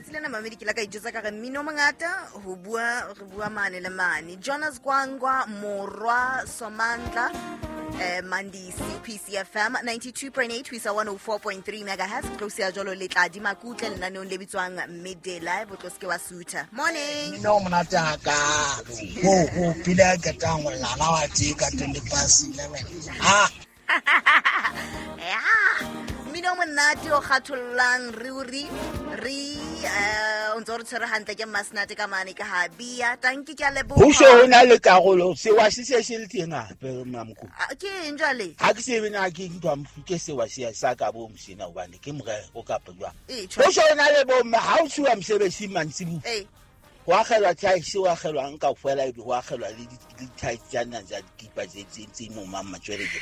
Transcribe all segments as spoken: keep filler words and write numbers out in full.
Tsatsi lena mamedi ke la ka ijwetsa ka re mmino o mongata ho bua re bua mane le mane. Jonas Gwangwa Morwa Somandla eh Mandisi P C F M ninety-two point eight ho isa one oh four point three megahertz. Tlosi ya jwalo le tla di makutle lenaneong le bitswang Midday Live o tlo seke wa sutha. Morning. Mmino o monate hakalo. Ho ho pila ke tang lala wa tee ka twenty past eleven. Ah. Yeah. Mmino o monate o kgathollang ruri re eh o ntse o re tshwere hantle ke Masnate ka mane ka ha bia. Tanki ke a leboha. Ho se ho na le karolo sewa se se se le teng hape Mamoko. Ke eng jwale? Ha ke sebe na ke ntwa mfuke sewa se sa ka bo mosena hobane ke morero kapa jwang. Ee, Ho se ho na le bo mme ha o tshuwa mosebetsing mantsibuya. Ee. Ho akgelwa thaisi, ho akgelwa nka kaofela ebe ho akgelwa le di-tights tsa nna tsa dikipa tse tse tse mo mang matswele ke.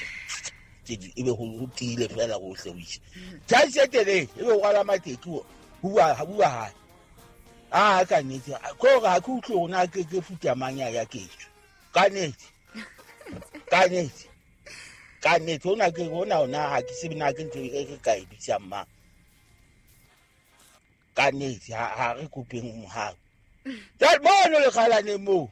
Tse di ebe ho ho tiile fela hohle ho isha. Thaisi e telele ebe ho rwala mateki ho bua ha bua hae. Ah ka nnete ko re ha ke utlwe hore na ke ke futa mang ya ya ketso. Ka nnete. Ka nnete. Ka nnete hona ke hona hona ha ke tsebe na ke ntho e re ka e bitsang mang. Ka nnete ha ha re kopeng mohau. Jwale mono lekgalaneng moo.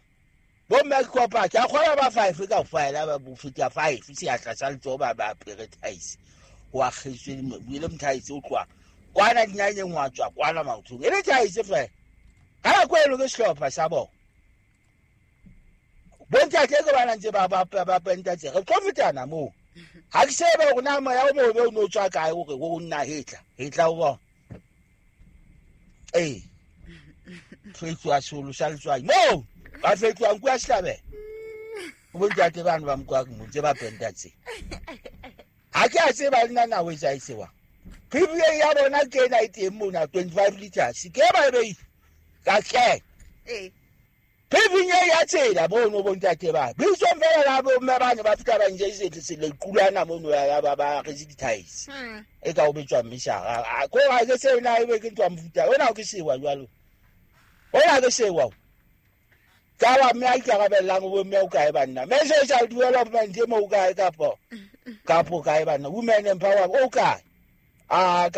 Bo mme ke kopa ke a kgolwa ba five kaofela ba bo feta five seatla sa letsoho ba ba apere thaisi. Ho akgetswe le mothaisi o tloha kwana dinyanyeng wa tswa kwana maotong. E le thaisi fela. Ka nako eno ke sehlopha sa bona. Bontate ke bana ntse ba ba ba penta tse. Re tlo fetana moo. Ha ke tsebe hore na moya o mobe o no tswa kae hore o nna hetla. Hetla o bona. Ee. Fetwa solo sa letswai. Moo ba fetwa nku ya sehlabelo. Bontate bana ba mokwa mo ntse ba penta tse. Ha ke a tseba le nna na ho etsa sewa. P B A ya bona ke ena e teng mona twenty-five liters. Ke ba e beile. Ka tle. Ee. P B A ya tsela bono bontate ba. Bitsong fela la bo mme bane ba fihla ba nje se se le qulana mono ya ba ba re di-tiles. Hmm. E ka o betswa mmishara. Ko ha ke se na ebe ke ntwa mofuta. Ona ke sewa jwalo. Ona ke sewa. Ka ba mme a ikarabellang bo mme o kae banna. Mme social development e mo o kae kapo? Kapo kae banna? Women empower o kae? Ah ka